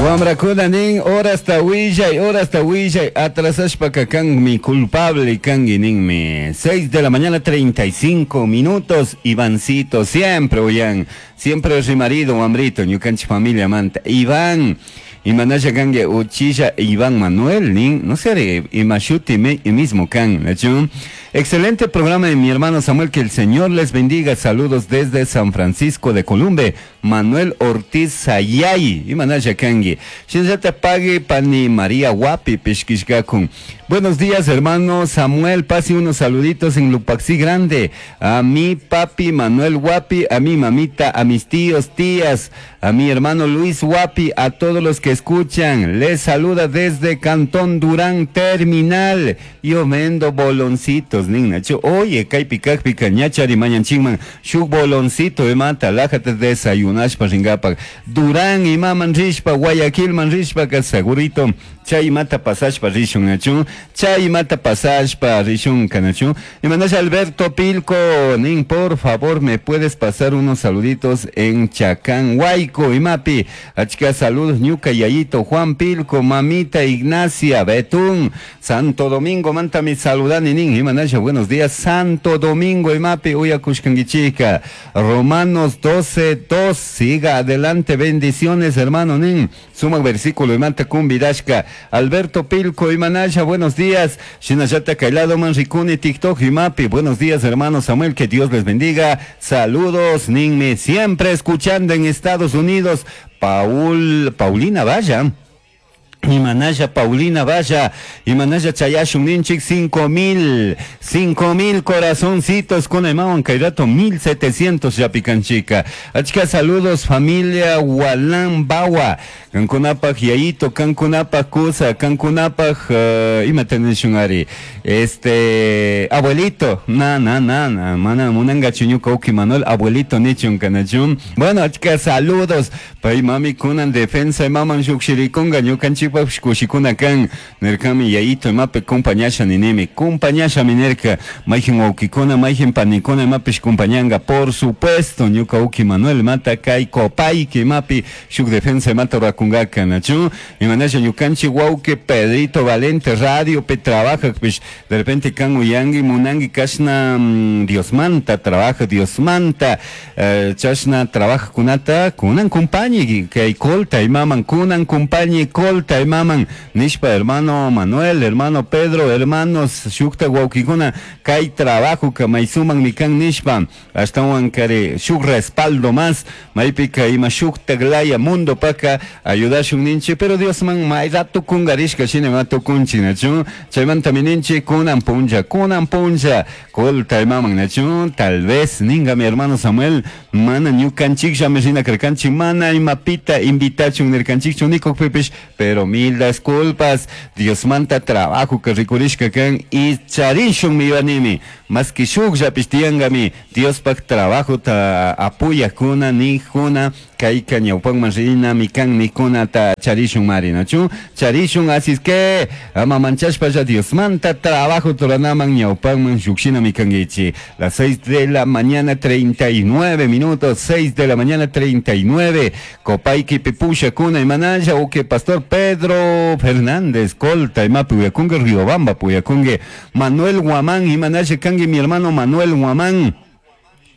Wamrakuna nin, horasta willay, horasta willay, atrasashpaka kanmi culpable kanki ninmi. 6 de la mañana 35 minutos, Ivancito siempre uyan, siempre rimarido wambrito, ñukanchik familia manta. Iván, imanalla kanki uchilla Iván Manuel nin, no sé, imashuti mismo kan, ¿nachu? Excelente programa de mi hermano Samuel, que el Señor les bendiga. Saludos desde San Francisco de Columbe, Manuel Ortiz Sayay, imanalla kanki. Shinallata pague pani María Guapi pishkishkakun. Buenos días, hermano Samuel, pase unos saluditos en Lupaxí Grande. A mi papi Manuel Guapi, a mi mamita, a mis tíos, tías, a mi hermano Luis Guapi, a todos los que escuchan. Les saluda desde Cantón Durán Terminal. Yo vendo boloncitos, nina. Oye, kaypi kajpika ñachari mañanchikman shuk boloncito imata lajata desayunashpa ringapak. Durán imaman rishpa, Guayaquilman rishpa, segurito chay imata pasashpa rishun nachu, chay imata pasashpa rishun kanachu. Y mandas Alberto Pilco, nin, por favor, me puedes pasar unos saluditos en Chacán, Huayco, imapi. Achka saludos, ñuka Yayito, Juan Pilco, mamita Ignacia, Betún, Santo Domingo, mantami saludani nin, imanasha, buenos días, Santo Domingo, imapi, uyakushkankichika. Romanos 12, 2, siga adelante, bendiciones, hermano, nin. Suma versículo, imanta kumbidashka. Alberto Pilco, imanasha, buenos días. Shinallata Kailado Manricuni, TikTok, imapi, buenos días, hermano Samuel, que Dios les bendiga. Saludos, ninme, siempre escuchando en Estados Unidos. Paul, Paulina Vaya. Imanalla Paulina Vaya, Imanalla Chayashun Ninchik, 5000, 5000 corazoncitos con Emawan Kairato, 1700 yapicanchica. Achka saludos familia Walan Bawa, Kankunapaj Yayito, Kankunapaj Kusa, Kankunapaj, ima tenishun este, abuelito, na, na, na, na, mana, munanga chuñuka uki Manuel, abuelito nichun kanachun. Bueno, achka saludos, pay mami kunan defensa, maman shukshirikunga, ñukanchikpaj kushikuna kan, nirkami yayito imapi kumpañasha ninimi, kumpañasha minerka, mayjin wawkikuna, mayjin panikuna imapish kumpañanga, por supuesto, ñuka uki Manuel mata kay kopayki imapi shuk defensa imata rurakunkaka, nachu, imanasha ñukanchik wawki Pedrito Valente radio pe trabaja, pish, de repente kan uyangi munangi kashna, Dios manta, trabaja Dios manta, chashna trabaja kunata, kunan kumpañi, kay kolta imaman, kunan kumpañi kolta imaman, nishpa hermano Manuel, hermano Pedro, hermanos shukta wawkikuna, kay trabajo kamaysuman mikan nishpa, ashtawan kare shuk respaldo más, maypika ima shukta glaya mundo paka ayudashun ninchi, pero Dios man may rato kungarishka shina ma tukunchi nachu, chaymanta mininchi kunan puncha, kunan puncha, kolta imaman nachu, tal vez ninga mi hermano Samuel, mana ñukanchik llame rina karkanchik, mana imapita invitachun nirkanchikchu nikukpipish, pero mil disculpas, Dios manta trabajo que rikurishka kan y charishun mi ibanimi, más que shuk llapish tiyangami, Dios pak trabajo ta apoya kuna ni kuna, kayka ñawpanman rina mikan nikuna ta charishun mari nachu, charishun, así es que ama manchashpa ya Dios manta trabajo toranaman ñawpanman shukshina mikangichi. Las 6 de la mañana 39 minutos, 6 de la mañana 39, Copayki pipusha kuna imanalla, uke Pastor Pedro Fernández, Colta, imapi uyakunge, Riobamba, puyakunge, Manuel Guamán, imanalla kangi mi hermano Manuel Guamán.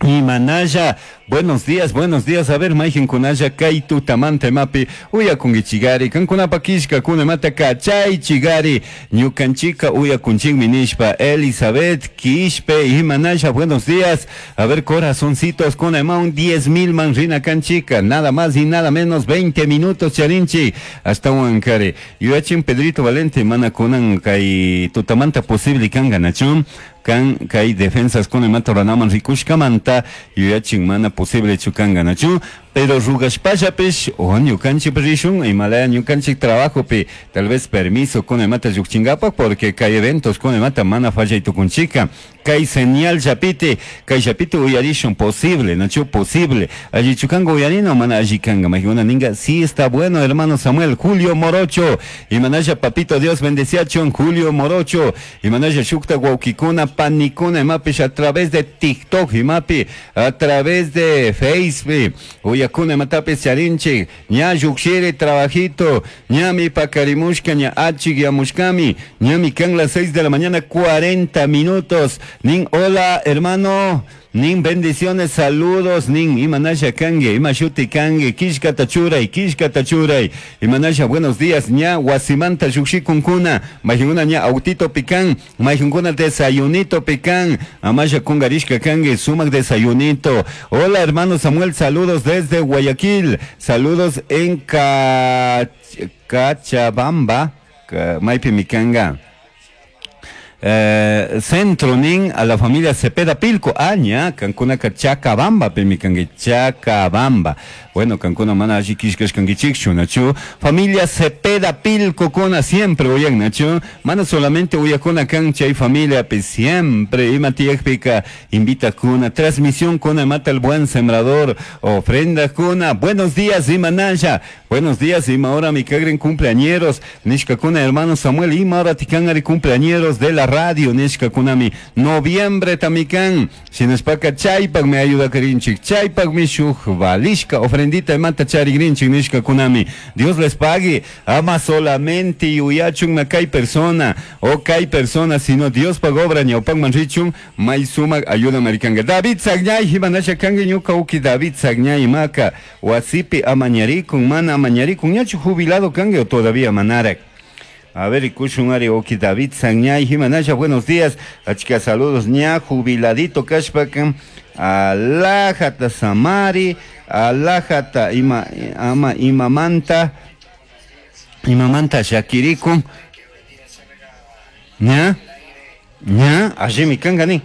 Imanalla, buenos días, buenos días. A ver, mayjin kunalla, kay tutamanta imapi, uyakungichigari, kankunapa kishka, kuna mata kachay chigari, ñukanchika uyakunchikmi nishpa, Elizabeth Quispe, imanalla, buenos días. A ver, corazoncitos, kuna ima un 10,000 man rina kanchika, nada más y nada menos, 20 minutos charinchi, hasta huancare. Yuyachin Pedrito Valente, mana kunan kay tutamanta posible kanga nachun. Kan kay defensas con imata ranaman rikushkamanta yuyachin mana posible chukanga nachu, pero rugashpallapish o ñukanchik rishun imalaya ñukanchik trabajo pi tal vez permiso con imata lluqchinkapak porque kay eventos con imata mana fallay tukunchika kay señal llapite kay llapite uyarishun posible nachu posible alli chukango uyarino mana alli kanga majuna ninga sí está bueno hermano Samuel Julio Morocho imanaya papito Dios bendeciachon Julio Morocho imanaya shukta wawkikuna panikuna imapish a través de TikTok imapi a través de Facebook. Uyakuna imatapis charinchik. Ña llukshiri trabajito, ñami pakarimushka, ña achikyamushkami, ñami kan las 6 de la mañana 40 minutos. Nin, hola hermano, nin bendiciones, saludos, nin imanasha kangi, ima shuti kangi, kishkata churay, kishkata churay, imanasha buenos días, ña wasimanta llukshikunkuna, mayjunkuna ña autito pikan, mayjunkuna desayunito pikan, amasha kungarishka kangi, sumak desayunito. Hola hermano Samuel, saludos desde Guayaquil, saludos en Cachabamba, maypi mikanga. Centro nin a la familia Cepeda Pilco, aña, kankunaka Chacabamba, pimikangi Chacabamba. Bueno, kankuna mana alli kishkashkankichikchu, nachu. Familia Cepeda Pilco kuna siempre uyan, nachu. Mana solamente uyakuna kan chay familia, pe siempre ima tiyakpika invita kuna, transmisión kuna mata el buen sembrador, ofrenda kuna. Buenos días, ima nasha. Buenos días, ima hora mi kagren cumpleañeros. Nishka kuna hermano Samuel, ima hora tikangari cumpleañeros de la radio, nishka kunami. Noviembre tamikan, shinashpaka chaypak me ayuda karinchik, chaypak mi shuj valishka, ofrendita imata charigrinchik nishka kunami. Dios les pague, ama solamente yuyachun na kay persona, o kay persona, sino Dios pag obra ñawpak manrichun, may sumak ayuda marikanga. David Sagñay, himanasha kangi ñuka uki David Sagñay maka, wasipi amañarikun, mana amañarikun, ñachu jubilado kangi o todavía manarak. A ver, ikushun ari oki David Sagñay, himanasha, buenos días, achka saludos, ña jubiladito kashpakan, alajata samari, alajata ima, ama, imamanta, imamanta shakirikun, ña, ña, allí mi kanga ni,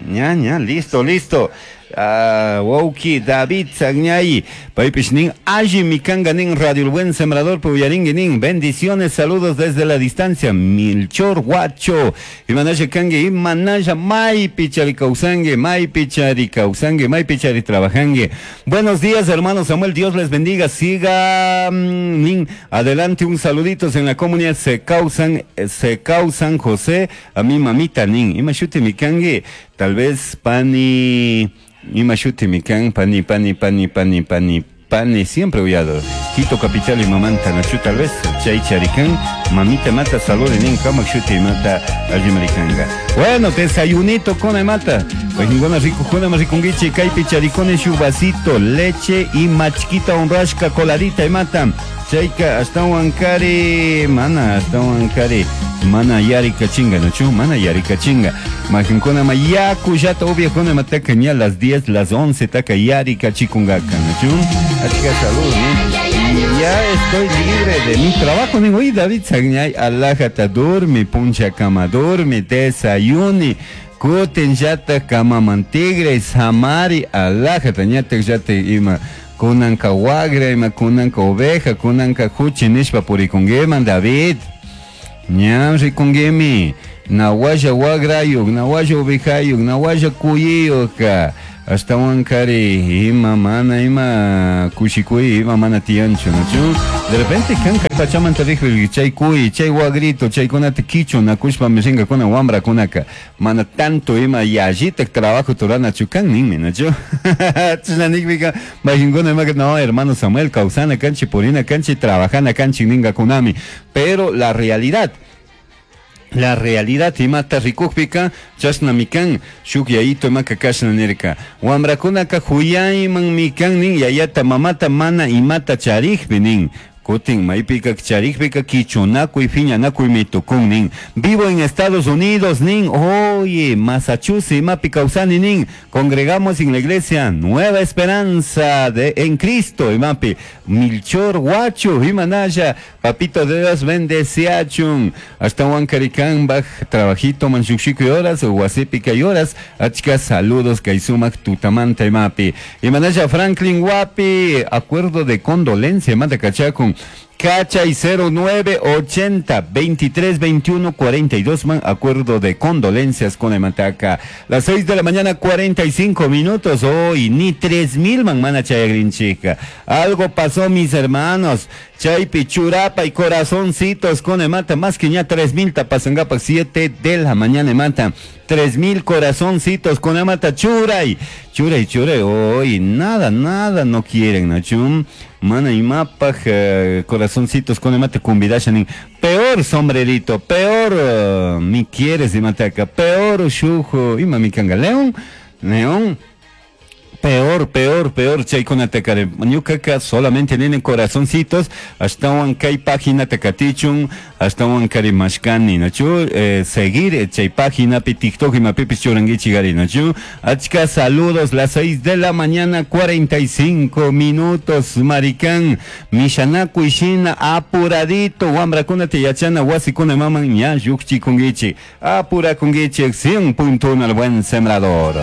ña, ña, listo, listo. Ah, wauki David Sagñay, paypish nin, alli mi kanga nin, Radio El Buen Sembrador, puyaringui nin, bendiciones, saludos desde la distancia, Milchor Guacho, imanasha kangi, imanasha maypi chari kawsangi, maypi chari kawsangi, maypi chari trabajangi. Buenos días, hermano Samuel, Dios les bendiga, siga, nin, adelante, un saluditos en la comunidad, se causan José, a mi mamita nin, imashuti mi kangi, tal vez pani, imashuti mi kan, pani, pani, pani, pani, pani, pani, siempre uyado. Quito capital y mamanta, nachu tal vez, chay charicán, mamita mata, salud nin, kamak shuti mata, allimaricanga. Bueno, desayunito con mata. Pues ninguna rico, juna más ricunguiche, kaipi charicone, shubacito, leche y machquita honrashka coladita y mata. Chayka, hasta huancari, mana, hasta huancari, mana yarika chinga, nachu, mana yarika chinga. Majinkuna ma yaku yata obvia kuna mataka ña las 10, las 11 taka yarika chikungaka, nachu. Achka salud, ¿no? Ya estoy libre de mi trabajo, digo, y David Sagñay, alajata, durmi, puncha cama, durmi, desayuni, kutin yata kama mantigre, samari, alajata, ñata yata ima. Kunanka wagra, ima kunanka oveja, kunanka kuchi nishpa purikunguiman, David. Ñam rikunguimi. Nawasha wagrayuk, nawasha ovejayuk, nawasha kuyiyuk. Hasta wankari, ima mana, ima kushikuy, ima mana tiyanchu, nachu? De repente, kan kay pachamanta rikri, chay kuy, chay wagrito, chay kunata kichu, nakushpa mishinga kuna wambra kunaka. Mana tanto ima yallitak trabajo turana chukan ninmi, nachu? Chashna nikpika, majinkuna ima, no, hermano Samuel, kawsana kanchi, purina kanchi, trabajana kanchi ninga kunami. Pero la realidad, la realidad imata rikukpika chashna mikan shuk yayito imaka kashna nirka wamrakunaka huyayman mikan nin yayata mamata mana imata charikpi nin kutin maypika charikpika kichunakuy phiñanakuy mitukun nin. Vivo en Estados Unidos nin, oye, Massachusetts imapi kawsani nin, congregamos en la iglesia Nueva Esperanza de en Cristo imapi Milchor Guacho imanaya, papito de Dios bendeciachun, hasta Huancaricán baj trabajito manchuxico y horas huasipica y horas, achka saludos kaisumak tutamanta imapi imanaya Franklin Guapi, acuerdo de condolencia mata kachakun. Cachay 09 80 23 21 42 man acuerdo de condolencias con Emataca. Las 6 de la mañana 45 minutos hoy ni 3000 man mana chayagrinchica. Algo pasó mis hermanos. Chaypi churapa y corazoncitos con emata más que ya 3000 tapasangapa 7 de la mañana emata. 3000 corazoncitos con amata churay. Churay, churay. Hoy nada, nada no quieren, ¿no? Mana imapaj corazoncitos con mate kumbidashanin. Peor sombrerito, peor mi quieres imataca, peor shujo, ima mi kanga león, león. Peor, peor, peor chaykunataka ñukaka solamente nini corazoncitos ashtawan kay página katichun ashtawan karimashkani nachu seguir chay página pi TikTok imapipis churanguichik ari nachu achka saludos las 6 de la mañana 45 minutos maricán mishanakuy shina apuradito wambrakunata yachana wasikuna maman ña llukchikunkichik apurakunkichik 100.1 al buen sembrador.